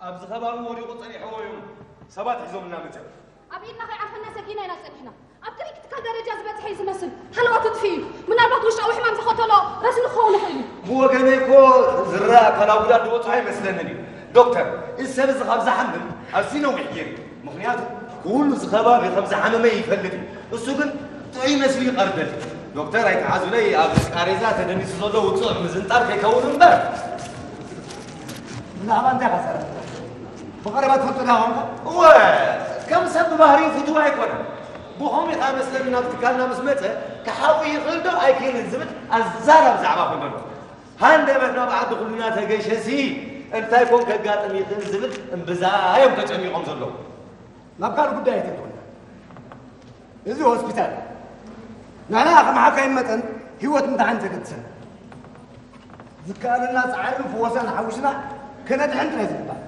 ኣብዚ ከባቢ ወዲቑ ጸኒሕዎ እዩ። ሰባት ሒዞምልና መጸ ኣብ ኢድና ከይዓርፈና ሰጊና ኢና ጸኒሕና። ኣብ ጥሪት ትካል ደረጃ ዝበጽሐ እዩ ዝመስል። ሃለዋቱ ጥፊኡ እዩ። ምናልባት ውሽጣዊ ሕማም ዝኸተሎ ረስኒ ክኸውን ይኽእል እዩ። ብወገነይ እኮ ዝረኣ ኣካላዊ ጉዳት ዝበጽሖ ኣይመስለንን እዩ። ዶክተር፣ እዚ ሰብ እዚ ካብ ዝሓምም ኣዝዩ ነዊሕ ገይሩ እዩ። ምኽንያቱ ኩሉ እዚ ከባቢ ከም ዝሓመመ ይፈልጥ እዩ። እሱ ግን ጥዑይ መስሉ ይቐርበል። ዶክተር ኣይትሓዙለይ፣ ኣብ ቃሬዛ ተደኒሱ ዘሎ ውጹዕ ምዝንጣል ከይከውን እምበር። ብዛዕባ እንታይ ኢኻ ትዛረብ? ብቐረባ ትፈልጦ ዶ ኾንካ? እወ፣ ከም ሰብ ብባህሪኡ ፍቱው ኣይኮነን። ብኸምኡ ኢኻ መስለኒ ናብ ትካልና ምስ መጸ ክሓዊ ይኽእል ዶ ኣይክእልን ዝብል ኣዛራብ ዛዕባ ኮን ዘሎ። ሃንደበት ናብ ዓዲ ኩልና ተገሸሲ እንታይ ኮን ከጋጥም ይኽእል ዝብል እምብዛ እዮም ተጨኒቖም ዘለዉ። ናብ ካልእ ጉዳይ ኣይተትወና። እዚ ሆስፒታል ንሕና ከም ሓካይም መጠን ህይወት ምድሓን ተገድሰና። ዝከኣለና ጻዕርን ፍወሳን ሓዊስና ከነድሕን ጥራይ ዝግባእ።